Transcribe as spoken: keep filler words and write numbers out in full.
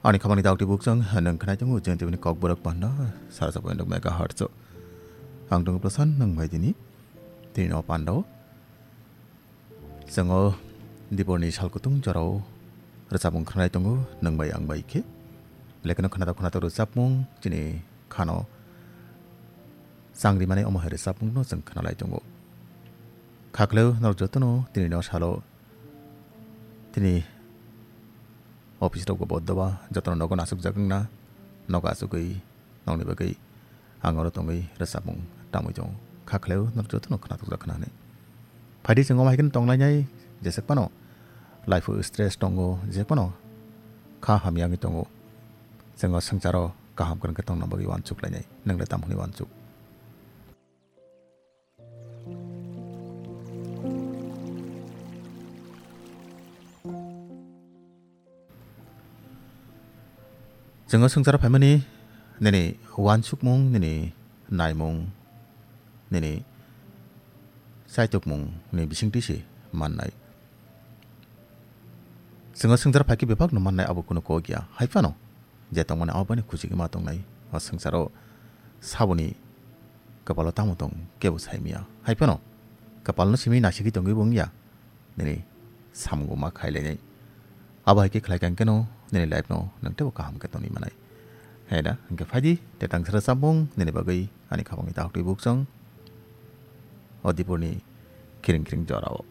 Ani khamani daktwi bukchang nwng khnai tongo jeng tebini kok borok panda sara chapoi nwng mega hertz. Ang tongo Prasan nwng bai dini tini no panda o. Chwngo diporni sal kutung jorao rwchapmung khnai tongo nwng bai ang bai khe. Lekeno khnatok khnatok rwchapmung chini khano changri mani omo hai rwchapmung no chwng khnalai tongo. Khakleo norok jotono tini no salo tini office rok bo boddoba jotono nogo nasukjak wngna nogo asugwi nokni bagwi ang oro tongwi rwchapmung tamwi tongo. Khakleo norok jotono khnatukjak khna hwnwi. Phaidi chwng omo hai kheno tonglainai jeswk phano life o stress tongo jeswk phano kha hamya wngwi tongo. Chwng o swngcharo kaham kwrwng khe tongna bagwi uansuk lainai nwng le tamo hwnwi uansuk. Chwng o swngcharo phaimani nini uansukmung, nini naimung, nini chaitokmung ni bisingtwi se mannai. Chwng o swngcharo phaikhe bebakno mannai abo kunu kok ya. Hai phano je tongmani abo baino kuchigwi ma tongnai. O swngcharo saboni kwpalo tamo tong kebo saimya. Hai phano kwpalno simi nasigwi tongwi bo wngya. Nini samung bo ma khailainai. Abo hai khe khlai kha hwnkhe no nini life no nwng teibo kaham khe tongwi manai. Hai da hwnkhe phaidi te tangsa rwchapmung nini bagwi ani khabangni daktwi bukchang. O dipurni khiring khiring jorao.